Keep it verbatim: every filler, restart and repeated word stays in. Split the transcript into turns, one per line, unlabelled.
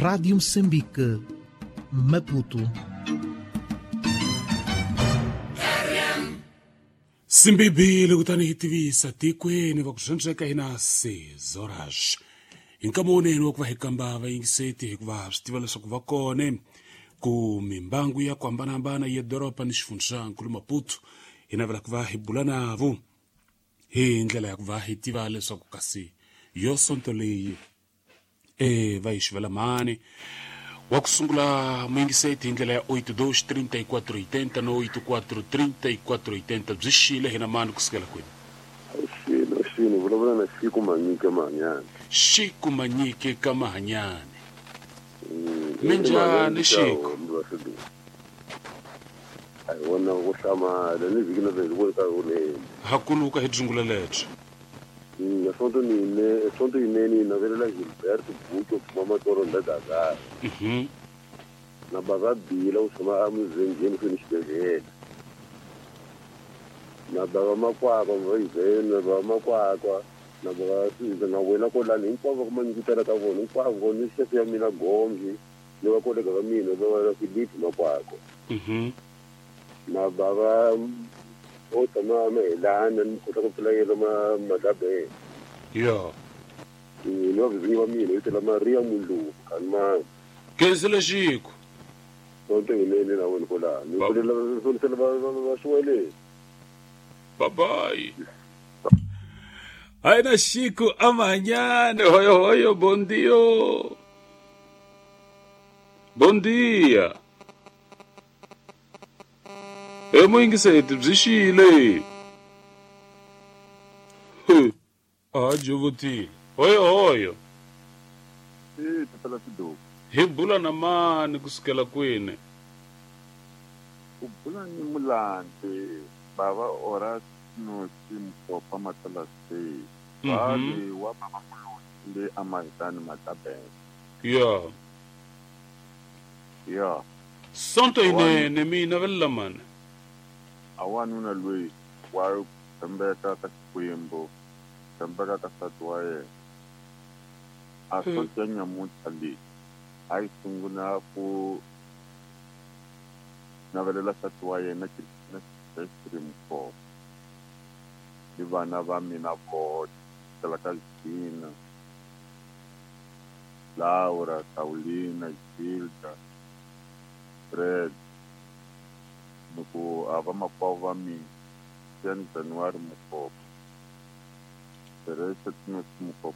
Rádio Moçambique, Maputo.
Simbibile kutani hi tivisa tikweni va ku swantsweka hina seis horas hi nkama wunene wa ku va hi kamba vayingiseti hikuva swi tiva leswaku va kone ku mimbangu ya ku hambanahambana ya doroba ni xifundzankulu Maputo hi navela ku va hi bula navo hi ndlela ya ku va hi tiva leswaku kasi yo sonto leyi e va yi xivela mani wa ku sungula muyingiseti hi ndlela ya oito dois trinta e quatro oitenta no oito quatro trinta e quatro oitenta byi xile hina mani kusukela kwini?
Xilo xilo vulavula na Xiku Manyike Mahanyane.
Xiku Manyike ka Mahanyane. Minjhani Xiku?
A hi vona ku hlamala ni vhiki na vhiki ku ri ka vunene.
Hakuluka hi dzungula lebyi.
Sonto nine sonto yinene yi navelela Gilberto Bucho phuma matoro ndadazara.
Mhm.
Na bava Bila u tshama emuzenjeni ku ni xibedhlele. Na bava Makwakwa va yiveni na bava Makwakwa na bava Siza na wena kolani hinkwavo va manyikutela ka vona hinkwavo ni xefe ya mina Gomzi ni va kolega va mina va va Philip Makwakwa.
Mhm.
Na bava o tshama mahelana ni kota ku pfula yelo ma madabele.
Yo.
Ni va vinyi va mina vitela Maria Muluku kanma.
Kenzile Xiku.
Sonto yinene na wena kolani. Ni kolela sonisela va va xiweleni.
Bye bye. Aina Xiku amanhã, hoyo hoyo, bom dia. Bom dia. E muyingiseti byi xile. A jovutile. Hoyo hoyo.
Eh, tatala Siduku.
Hi bula na mani kusukela kwini?
U bula ni Mulandzi bava ora no Simkopa Matala se. Vale wa baba Mulusi le amahitani Matabele.
Ya.
Ya.
Sonto yinene mina velela mani.
A wanuna loyi wa tshembeka ka Xikwembu, tshembeka ka nsati wa yena. A sonto ya nyamuntlha leyi a yi sungula ku navelela nsati wa yena Christina Silvestre Mukhopa ni vana va mina voxe kusukela ka Gina, Laura, Paulina, Gilda, Fred, ni ku a vamakwavo va mina Jan January Mukhopa, Teresa Tinosi Mukhopa.